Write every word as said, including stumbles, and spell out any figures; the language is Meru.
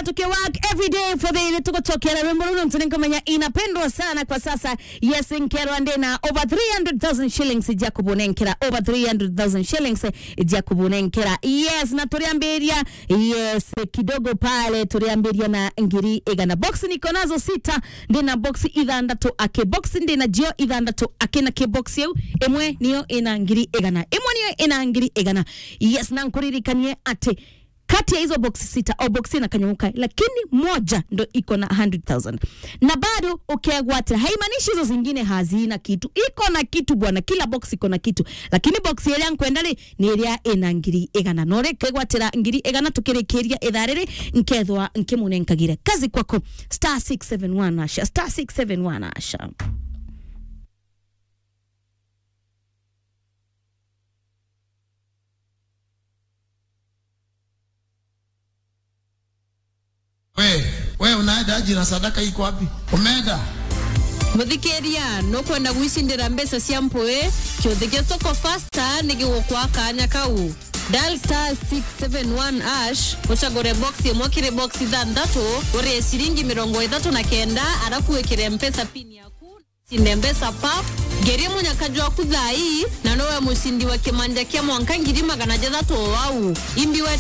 Tukiwork every day for the day, tugucokera rwimbo ruru, ntu ninkumenya inapendwa sana kwa sasa. Yes, nkerwa ndina over three hundred thousand shillings ja kubunenkera, over three hundred thousand shillings ja kubunenkera. Yes, na turiambiria, yes, kidogo pale, turiambiria na ngiri igana. Box niko nazo sita, ndina box ithandatu aki. Box ndina jio ithandatu aki, na ki box iu, imwe niyo ina ngiri igana. Imwe niyo ina ngiri igana. Yes, na nkuririkanie ati kati ya hizo box sita, o box ina kanyamũ kae, lakini moja ndo iko na hundred thousand. Na bado ukegwatira, haimaanishi hizo zingine hazina kitu. Iko na kitu bwana, kila box iko na kitu. Lakini box iria nkwenda ri, ni iria ina ngiri igana. No ri kegwatira ngiri igana tukirikiria ithaa riri, nkethwa nkimunenkagire. Kazi kwako, star six seven one hash, star six seven one hash. We, we unaenda aje na sadaka iko wapi? Umeenda? Muthikiria, nukwenda gwicindira mbeca cia mpui? Kiuthi kia Soko Fasta ni gigukwa kanya kau. Dial star six seven one hash, ucagure box imwe kiri box ithanthatu, urie ciringi mirongo ithatu na kenda, arafu wikire mpesa pin yaku. Cinde mbeca pap, ngerie munyaka jwaku thaa ii, na nowe mucindi wa kimanja kia mwanka ngiri magana jathatu o au. Imbi we